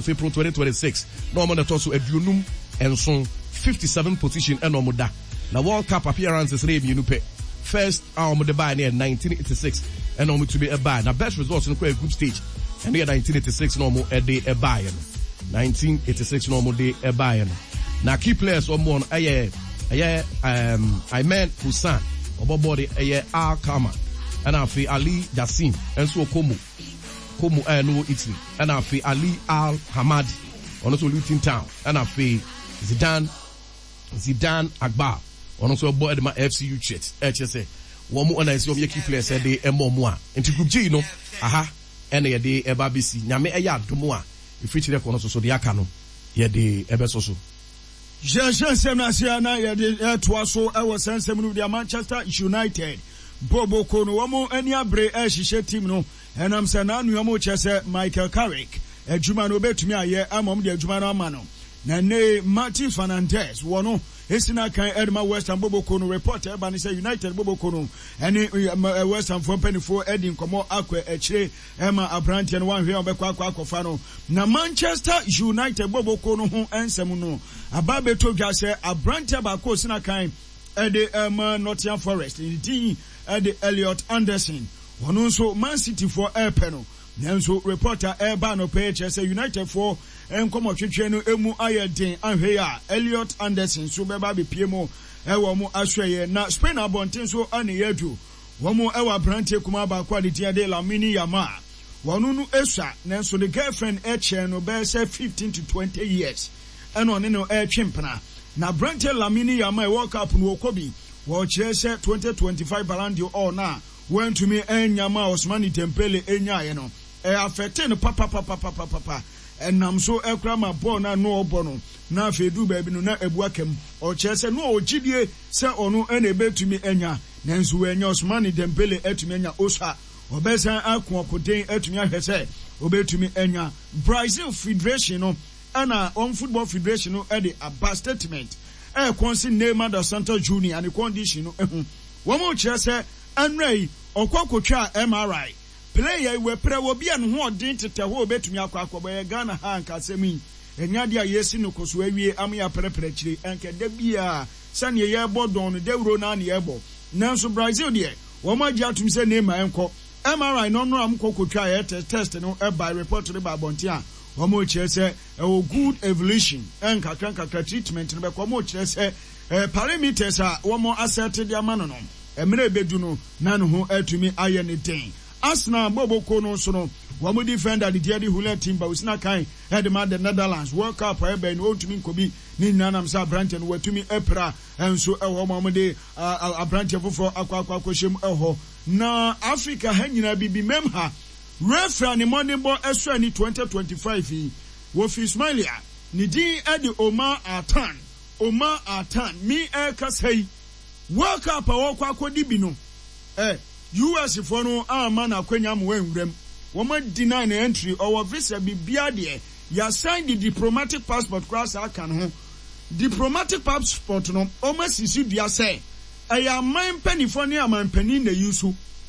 April 2026 na wɔn na ɛtɔ so 57, 57 position ɛna wɔn da. Na World Cup appearances no yɛ mmienu pɛ. First a wɔn de baeɛ no yɛ 1986 ɛna wɔn tumi baeɛ. Na best results no kɔ yɛ group stage, ɛno yɛ 1986 na wɔn de baeɛ no. 1986 na wɔn de baeɛ no. Na key players wɔn no ɛyɛ ɛyɛ um, Aymen Hussan, ɔbɔ bɔɔl de ɛyɛ Al Kama, ɛna afei Ali Jassim nso wɔ Como Como a ɛno wɔ Italy, ɛna afei Ali Al Hamadi, ɔno nso wɔ Luton Town, ɛna afei Zidane Zidane Akbar, ɔno nso ɛbɔ ɛde ma FC Utrecht. Ɛkyerɛ sɛ wɔn ɛna ɛsɛ wɔn yɛ key players ɛde ɛma wɔn a. Nti Group G no aha ɛna yɛde ɛba abɛsi. Nyame ɛyɛ adom a, ɛfiri kyerɛ kɔ no so so deɛ aka no yɛde ɛbɛsɔ so. Yɛhyɛ nsɛm no ase a na yɛde ɛtoa so ɛwɔ saa nsɛm no deɛ Manchester United boboko no wɔn ani abere ɛrehyehyɛ team no ɛnam sɛ n'anoa mu kyerɛ sɛ Michael Carrick adwuma no obetumi ayɛ ama wɔn de adwuma no ama no. Na nnɛ yi Martin Fernandes wɔ no esi n'akan ɛde ma West Ham boboko no. Report ɛba ne sɛ United boboko no ɛne West Ham foɔ mpanimfoɔ ɛdi nkɔmɔ akɔ akyire ɛma aberanteɛ no wanhwɛ a ɔbɛkɔ akɔ akɔfa no. Na Manchester United boboko no ho nsɛm no aba abɛtɔ dwa sɛ aberanteɛ baako osi n'akan ɛde ɛma Nottingham Forest, ne din ɛde Elliot Anderson, ɔno nso Man City foɔ ɛɛpɛ no. Nanso report a ɛreba anɔpa yi kyerɛ sɛ United foɔ nkɔmɔtwetwe no mu ayɛ den, anhwɛ yi a Elliot Anderson nso bɛba abɛpue mu wɔ wɔn asoɛeɛ. Na Spain abɔnten so na yɛadu. Wɔn wɔ aberanteɛ kumaa baako a ne din de Lamine Yamal. Wɔn no sua nanso ne girlfriend kyɛn no bɛyɛ sɛ 15 to 20 years ɛna ɔne no retwe mpena. Na aberanteɛ Lamine Yamal World Cup no wɔkɔ bi. Wɔkyerɛ sɛ 2025 Ballon d'Or no a wantumi annya ma Ousmane Dembele nyaeɛ no, ɛ affectee no papapapapapa. Ɛnam so koraa ma bɔɔl no a na ɔrebɔ no, na afei ɛduru baabi no na abu aka mu. Ɔkyerɛ sɛ na ɔwɔ gyidie sɛ ɔno na ɛbɛtumi anya, nanso wannya. Ousmane Dembele atumi anya. Osa ɔbɛsan ako ɔkoden atumi ahwɛ sɛ ɔbɛtumi anya. Brazil Federation no na wɔn Football Federation no de aba statement ɛrekɔnse Neymar dos Santos Junior ne condition no ho. Wɔkyerɛ sɛ ɛnora yi ɔkɔ kotwaa MRI. Player yi wapira wɔ bi a ne ho ɔden tetɛ hɔ a obetumi akɔ akɔbɔ. Ɛyɛ Ghana ha a anka asɛm yi ɛnyɛ adeɛ a yɛresi no koso awie ama yɛaprɛprɛ akyire. Anka da biara sɛdeɛ yɛrebɔ dɔn no dawuro no ara na yɛrebɔ. Nanso Brazil deɛ wɔn agye atom sɛ Neymar nkɔ. MRI no ɔnora wɔn kɔ kotwaa ɛyɛ test no bae, report no baa abɔnten a wɔkyerɛ sɛ ɛwɔ good evolution. Nkakra nkakra treatment no bɛkɔ. Wɔkyerɛ sɛ parameters a wɔn asɛte de ama no no, mmerɛ ɛbɛdu no na ne ho atumi ayɛ no den. Arsenal bɔbɔkuo no nso no, wɔn defender de din de Julian Timber, ɔsi n'akan de ma the Netherlands. World Cup a ɛbɛn no, ɔntumi nkɔ bi. Ne nyinaa nam sɛ aberanteɛ no watumi apira nso wɔ hɔ ma wɔde aberanteɛ foforɔ akɔ akɔ akɔhyɛ mu wɔ hɔ. Na Africa ha nyinaa bibimam ha, referee a ne mmɔdenbɔ sɔ ani 2025 yi, wɔfiri Somalia, ne din de Omar Artan. Omar Artan, me ɛrekasa yi, World Cup a ɔrekɔ akɔdi bi no, eh, US foɔ no amma no akwanya ama wanwura mu. Wɔn a deny no entry, ɔwɔ visa biribiara deɛ, yɛasan de diplomatic passport koraa saa aka ne ho. Diplomatic passport no, wɔn asisi dua sɛ ɛyɛ aman mpaninfoɔ ne aman panin na use.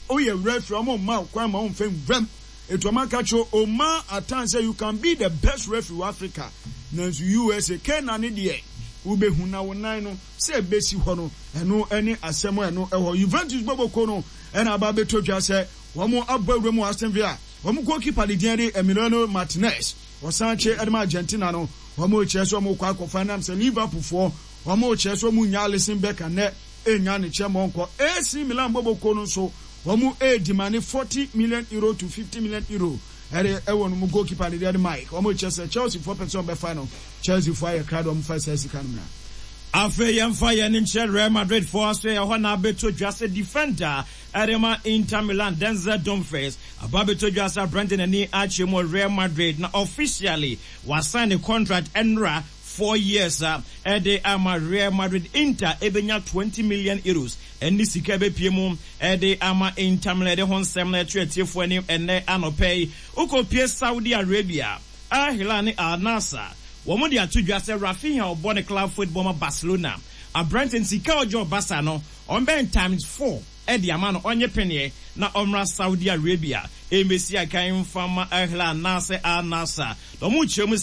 Woyɛ referee a, wɔn mma wo kwan ma womfa nwura mu. Enti wɔn aka kyerɛ Omar Artan sɛ you can be the best referee wɔ Africa, nanso USA, Kena ne deɛ wobɛhu na wo nan no sɛ ɛbɛsi hɔ no, ɛno ne asɛm a ɛno ɛwɔ hɔ. Juventus bɔbɔkuo no na aba abɛtɔ dwa sɛ wɔn abɔ awura mu wɔ Aston Villa. Wɔn goalkeeper de din de Emiliano Martinez, ɔsan kye de ma Argentina no. Wɔn rekyerɛ sɛ wɔn rekɔ akɔfa ɛnam sɛ Liverpool foɔ wɔn rekyerɛ sɛ wɔn nnya Alisson Becker nnɛ nnya ne kyɛ ma ɔnkɔ. AC Milan bɔbɔkuo no nso wɔn redimane €40 million to €50 million ɛde ɛwɔ no mu goalkeeper de deɛ de Mike. Wɔn rekyerɛ sɛ Chelsea foɔ pɛ sɛ wɔn bɛfa no. Chelsea foɔ ayɛ krado wɔn fa saa sika no mmra. Afei yɛmfa yɛn ani nkyerɛ Real Madrid foɔ asoɛeɛ hɔ na abɛtɔ dwa sɛ defender de ma Inter Milan Denzel Dumfries aba abɛtɔ dwa sɛ aberante n'ani akyerɛ mu wɔ Real Madrid na officially wasign ne contract ɛnora 4 years a ɛde ama Real Madrid. Inter ɛbɛnya €20 million ɛne sika ɛbɛpie mu ɛde ama Inter Milan. Ɛde ho nsɛm na ɛto atiefoɔ anim ɛnɛ anɔpɛ yi. Wokɔpie Saudi Arabia, Al Hilal ne Al Nassr wɔn de ato dwa sɛ Raphinha, ɔbɔ ne club football ma Barcelona, aberante sika ɔgye ɔbasa no ɔmbɛn times four ɛde ama no, ɔnyɛ pɛneɛ na ɔmmra Saudi Arabia ɛmbɛsi akan mfa ma Al Hilal anaasɛ Al Nassr na ɔmo kyerɛ mu.